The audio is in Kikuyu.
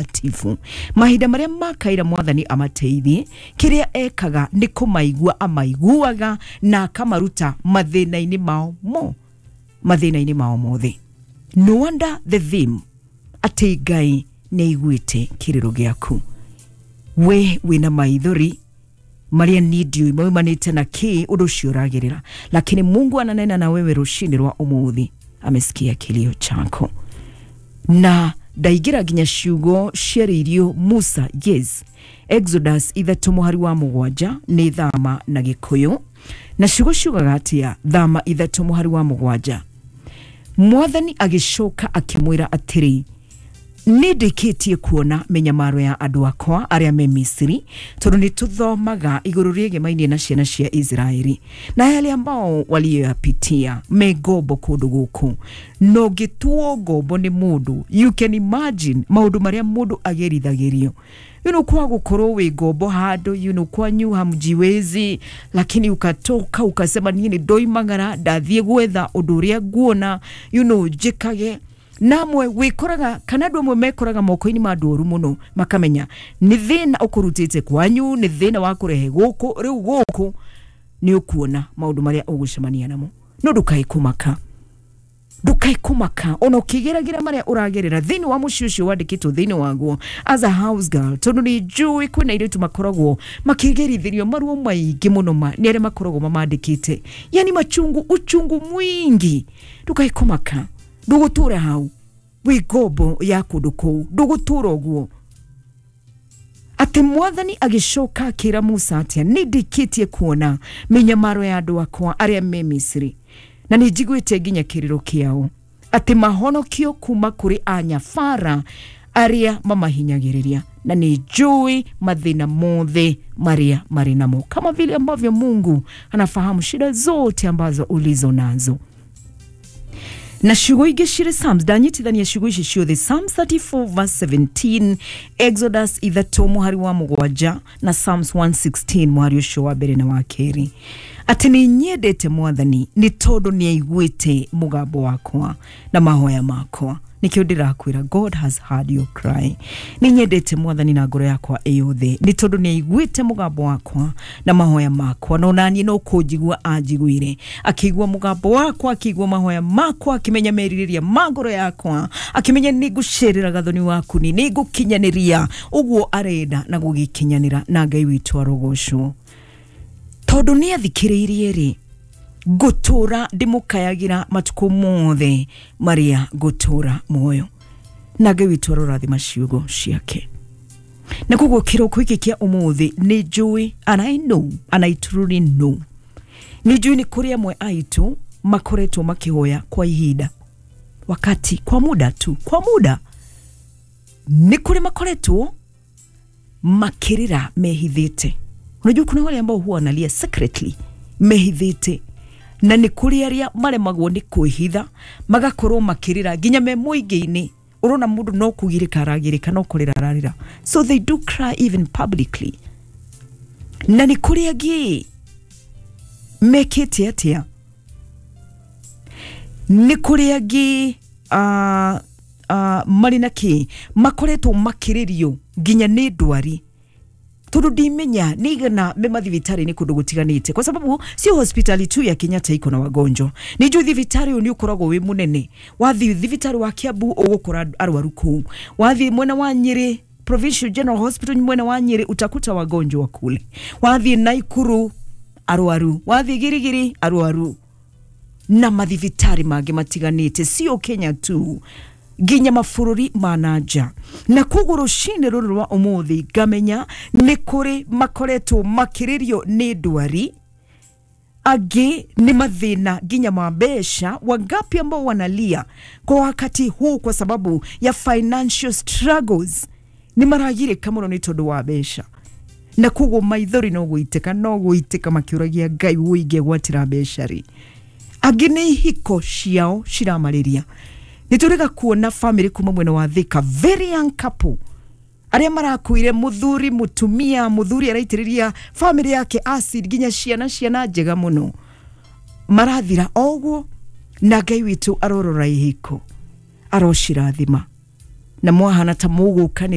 Mũtakatifu. Mahinda marĩa makaira Mwathani amateithie, kĩrĩa ekaga nĩ kũmaigua amaiguaga na akamaruta mathĩna-inĩ mao mo, mathĩna-inĩ mao mothe. No wonder the theme atĩ Ngai nĩ aiguĩte kĩrĩro gĩaku. We wĩna maithori marĩa niĩ ndiũĩ maumanĩte na kĩ ũndũ ũcio ũragerera, lakini Mungu ananena na wewe rũcinĩ rwa ũmũthĩ, amesikia kilio chako. Na ndaingĩra nginya ciugo ciarĩirio Musa, yes, Exodus 3:7 nĩ Thama na Gĩkũyũ, na ciugo ciugaga atĩa? Thama 3:7, Mwathani agĩcoka akĩmwĩra atĩrĩ, nĩ ndĩkĩtie kuona mĩnyamaro ya andũ akwa arĩa me Misiri, tondũ nĩ tũthomaga igũrũ rĩegemainie na ciana cia Israeli na yale ambao walioyapitia me ngombo kũndũ gũkũ. Na ũngĩtuo ngombo nĩ mũndũ, you can imagine maũndũ marĩa mũndũ agerithagĩrio. Kwa gũkorwo wĩ ngombo handũ, kwanyu hamjiwezi, lakini ukatoka ukasema niĩ nĩ ndoimagara ndathiĩ gwetha ũndũ ũrĩa nguona, njĩkage. Namwe wikoraga kana andũ amwe mekoraga moko-inĩ ma andũ oru mũno, makamenya nĩ thĩna ũkũrutĩte kwanyu, nĩ thĩna wa kũrehe gũkũ, rĩu gũkũ nĩ ũkuona maũndũ marĩa ũgũcemania namo. No ndũkae kũmaka, ndũkae kũmaka ona ũkĩgeragĩra marĩa ũragerera thĩinĩ wa mũciĩ ũcio wandĩkĩtwo thĩinĩ waguo as a house girl, tondũ nĩ njũĩ kwĩna airĩtu makoragwo makĩgerithĩrio maruo maingĩ mũno ma nĩ arĩa makoragwo mamandĩkĩte, yani machungu, uchungu mwingi. Ndũkae kũmaka, ndũgũtũra hau wĩ ngombo ya kũndũ kũu, ndũgũtũra ũguo. Atĩ Mwathani agĩcoka akĩra Musa atĩa? Nĩ ndĩkĩtie kuona mĩnyamaro ya andũ akwa arĩa me Misiri, na nĩ njiguĩte nginya kĩrĩro kĩao, atĩ mahonokio kuma kũrĩ anyabara arĩa mamahinyagĩrĩria, na nĩ njũĩ mathĩna mothe marĩa marĩ namo, kama vile ambavyo Mungu anafahamu shida zote ambazo ulizo nazo. Na ciugo ingĩ cirĩ Psalms, ndanyitithania ciugo ici ciothe, Psalms 34 verse 17, Exodus 3:7 na Psalms 116 mũhari ũcio wa mbere na wa kerĩ, atĩ nĩ nyendete Mwathani nĩ tondũ nĩ aiguĩte mũgambo wakwa na mahoya makwa. Nĩkĩo ndĩrakwĩra, God has heard your cry. Nĩ nyendete Mwathani na ngoro yakwa ĩyothe nĩ tondũ nĩ aiguĩte mũgambo wakwa na mahoya makwa, na onaniĩ no kũnjigua anjiguire, akĩigua mũgambo wakwa, akĩigua mahoya makwa, akĩmenya merirĩria ma ngoro yakwa, akĩmenya nĩ ngũcerera gathoni waku, nĩ ngũkinyanĩria ũguo arenda na gũgĩkinyanĩra, na Ngai witũ arogocwo. Tondũ nĩ athikĩrĩirie rĩ, ngũtũra ndĩmũkayagĩra matukũ mothe marĩa ngũtũra muoyo, na Ngai witũ arorathima ciugo ciake. Na koguo kĩroko gĩkĩ kĩa ũmũthĩ nĩ njũĩ, and I know, and I truly know, nĩ njũĩ nĩ kũrĩ amwe aitũ makoretwo makĩhoya kwa ihinda, wakati, kwa muda tu, kwa muda, nĩ kũrĩ makoretwo makĩrĩra mehithĩte. Unajua kuna wale ambao huwa wanalia secretly mehithĩte, na nĩ kũrĩ arĩa maremagwo nĩ kwĩhitha magakorwo makĩrĩra nginya me mũingĩ-inĩ. Ũrona mũndũ no kũgirĩka aragirĩka, no kũrĩra ararĩra, so they do cry even publicly. Na nĩ kũrĩ angĩ mekĩte atĩa? Nĩ kũrĩ angĩ marĩ na kĩ makoretwo makĩrĩrio nginya nĩ ndwari, tondũ ndimenya nĩ igana me mathibitarĩ-inĩ kũndũ gũtiganĩte, kwa sababu sio hospitali tu ya Kenyatta iko na wagonjwa. Nĩ njũĩ thibitarĩ ũyũ nĩ ũkoragwo wĩ mũnene, wathiĩ thibitarĩ wa Kiambu ũgũkora arwaru kũu, wathiĩ mwena wa Nyĩrĩ Provincial General Hospital mwena wa Nyĩrĩ utakuta wagonjwa kule, wathiĩ Naikuru arwaru, wathiĩ Girigiri arwaru, na mathibitarĩ mangĩ matiganĩte, sio Kenya tu, nginya mabũrũri ma na nja. Na koguo rũcinĩ rũrũ rwa ũmũthĩ ngamenya nĩ kũrĩ makoretwo makĩrĩrio nĩ ndwari, angĩ nĩ mathĩna nginya ma mbeca. Wangapi ambao wanalia kwa wakati huu kwa sababu ya financial struggles, nĩ maragirĩka mũno nĩ tondũ wa mbeca, na koguo maithori no gũitĩka, no gũitĩka makĩũragia Ngai ũingĩgwatĩra mbeca rĩ. Angĩ nĩ ihiko ciao ciramarĩria. Nĩ tũrĩga kuona family kuma mwena wa Thika, very young couple arĩa marakuire, mũthuri mũtumia, mũthuri araitĩrĩria family yake acid nginya ciana, ciana njega mũno marathira oguo, na Ngai witũ arorora ihiko, arocirathima, na mwahana ta mũgũkanĩria.